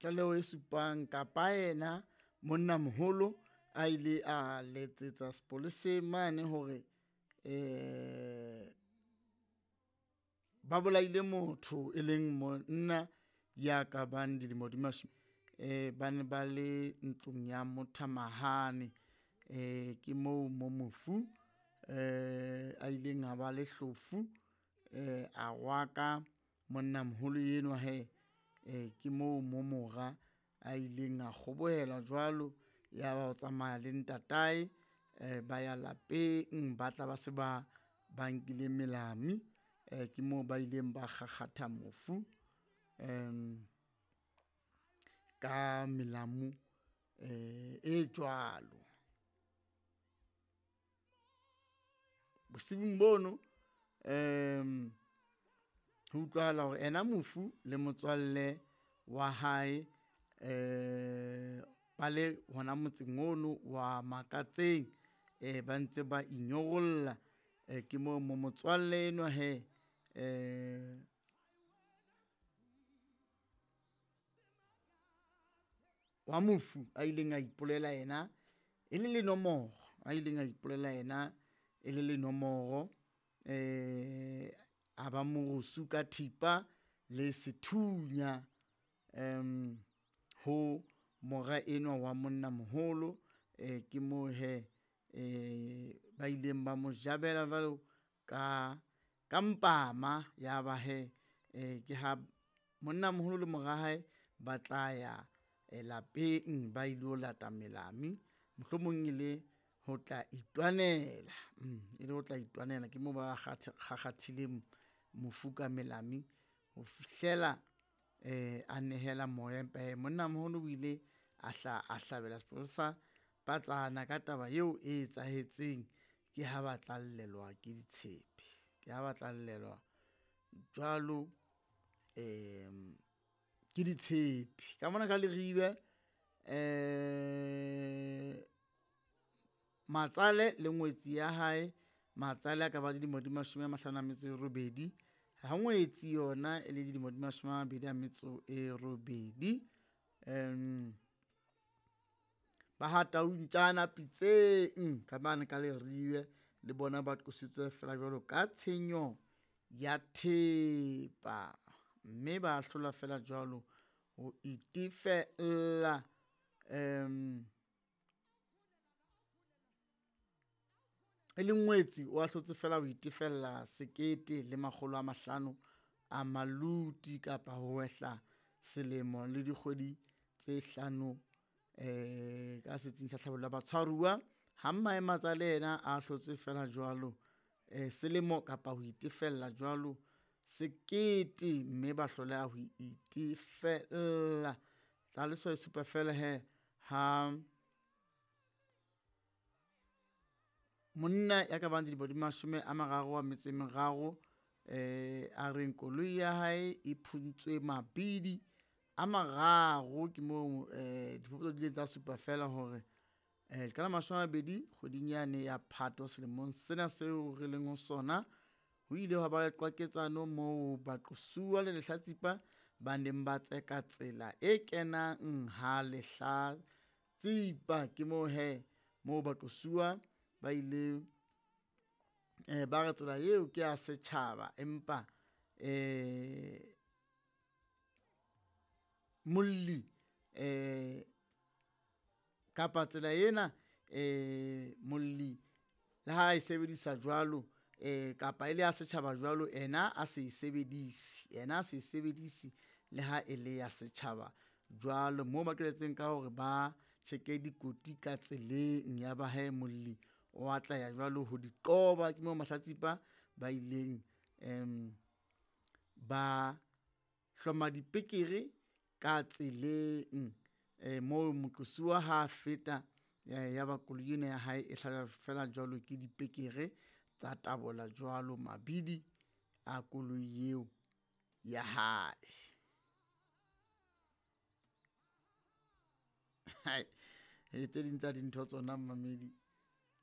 Tlaleho e supang kapa yena monnamoholo a ile a letsetsa sepoleseng mane hore ba bolaile motho e leng monna ya ka bang dilemo di ba ne ba le ntlong ya mothamahane. Ke moo mo mofu a ileng a ba le hlofu a rwaka monnamoholo enwa hee. Ke moo mo mora a ileng a kgobohelwa jwalo, ya ba o tsamaya le ntatae ba ya lapeng ba tla ba se ba ba nkile melamu. Ke moo ba ileng ba kgakgatha mofu ka melamu e jwalo. Bosiung bono ho utlwahala hore ena mofu le motswalle wa hae ba le hona motseng ono wa Makatseng ba ntse ba inyorolla. Ke moo mo motswalle enwa hee wa mofu a ileng a ipolela yena e le lenomoro, a ileng a ipolela yena e le lenomoro. A ba morusu ka thipa le sethunya ho mora enwa wa monnamoholo. Ke moo hee ba ileng ba mo jabela jwalo ka mpama ya ba hee ke ha monnamoholo le mora hae ba tla ya lapeng ba ilo lata melamu, mohlomong e le ho tla itwanela, e le ho tla itwanela. Ke moo ba kgakgathileng mofu ka melamu ho fihlela a nehela moya, empa hee monnamoholo o ile a hla a hlabela sepolesa patsana ka taba eo e etsahetseng. Ke ha ba tla llelwa ke ditshepe, ke ha ba tla llelwa jwalo ke ditshepe. Ka mona ka Leribe matsale le ngwetsi ya hae, matsale a ka ba dilemo di mashome a mahlano a metso e robedi, ha ngwetsi yona e le dilemo di mashome a mabedi a metso e robedi. Ba ha Tau ntjana pitseng ka mane ka Leribe le bona ba qositswe feela jwalo ka tshenyo ya thepa, mme ba ahlolwa feela jwalo ho itefella e leng ngwetsi o ahlotse feela ho itefella sekete le makgolo a mahlano a maluti kapa ho wehla selemo le dikgwedi tse hlano ka setsing sa tlhabollo ya batshwaruwa. Ha mmae matsale yena a ahlotswe feela jwalo selemo kapa ho itefella jwalo sekete, mme ba hloleha ho itefella. Tlhaloso e supa feela hee ha monna ya ka bang dilemo di mashome a mararo a metso e meraro a reng koloi ya hae e phuntswe mabidi a mararo. Ke moo diphuputso di ileng tsa supa feela hore ka la mashome a mabedi kgweding yane ya Phato selemong sena seo re leng ho sona, ho ile hwa ba le qwaketsano moo baqosuwa le lehlatsipa ba neng ba tseka tsela e kenang ha lehlatsipa. Ke moo hee moo baqosuwa ba ileng ba re tsela eo ke ya setjhaba empa molli kapa tsela ena molli le ha e sebedisa jwalo kapa e le ya setjhaba jwalo, ena a se e sebedise, yena a se e sebedise le ha e le ya setjhaba jwalo. Moo ba qetelletseng ka hore ba tjheke dikoti ka tseleng ya ba hee molli o atleha jwalo ho di qoba. Ke moo mahlatsipa ba ileng ba hloma dipekere ka tseleng moo moqosuwa ha feta ya ba koloi ena ya hae e hlajwa feela jwalo ke dipekere tsa tabola jwalo mabidi a koloi eo ya hae. Tse ding tsa dintho tsona mmamedi.